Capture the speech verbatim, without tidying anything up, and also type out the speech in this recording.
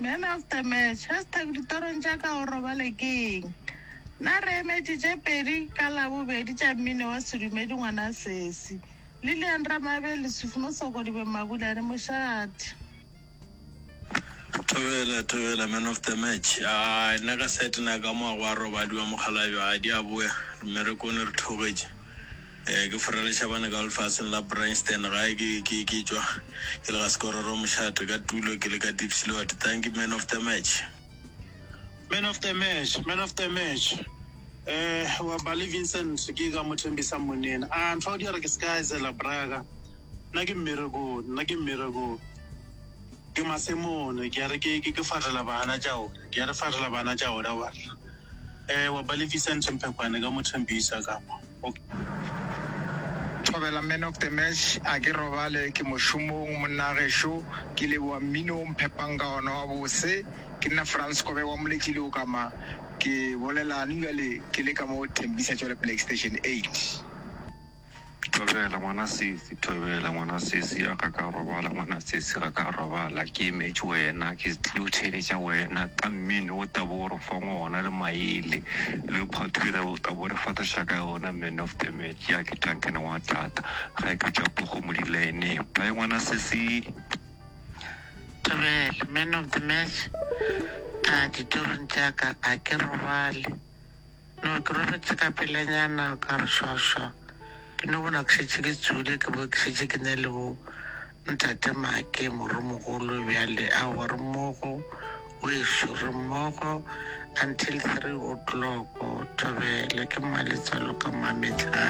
Man of the match, hashtag ditorong tša ka o robale ke eng? Nna re emetše tše pedi ka Labobedi tša mmino wa sedumedi ngwana sesi. Lillian Ramabe, Lesufi Mosokodibe Mabulane Mošate. Thobela, thobela, man of the match. A nna ka sete na ka mo go a robadiwa mokgalabje a di a boya mmerekone re thogetše. Eh, ke forela Shabane ka lefaseng la Bryanston gae ke ke ke tšwa ke le ga Sekororo mošate ka tulo ke le ka Diepsloot. Thank you man of the match. Man of the match, man of the match. Eh, wa Bali Vincent ke ka mo thembisa monene. A ntho di re ke ska zela braga. Nna ke mmereko, nna ke mmereko. Ke masemone, ke a re ke ke ke farela bana tša ona. Ke a re farela bana tša ona wa. Eh, wa Bali Vincent Mphekwane ka mo thembisa ka mo. Okay. Thobela man of the match a ke robale ke mošomong monna gešo ke leboa mmino o mphepang ka ona wa bose ke nna France Kobe wa moletši le o kama ke bolelane bjale ke le ka mo Thembisa tšwele Black Station eight. Thobela ngwana sesi, thobela ngwana sesi a ga ka robala ngwana sesi ga ka robala ke emetše wena ke tlile go theeletša wena ka mmino o tabo o re fang ona le maele le phathira o tabo re fataša ka yona man of the match ya ke Duncan wa tata ga ke tšwa pogo mo dilaeneng bye ngwana sesi. Thobela, man of the match, a ditorong tša ka a ke robale. No ke robetse ka pelanyana ka re šwašwa. Ke no bona ke šetše ke tswile ke bo ke šetše ke ne le bo ntate Make moromogolo bjale aowa re mmogo wešo re mmogo until three o'clock. Thobela ke mmaletswalo ka mametlhane.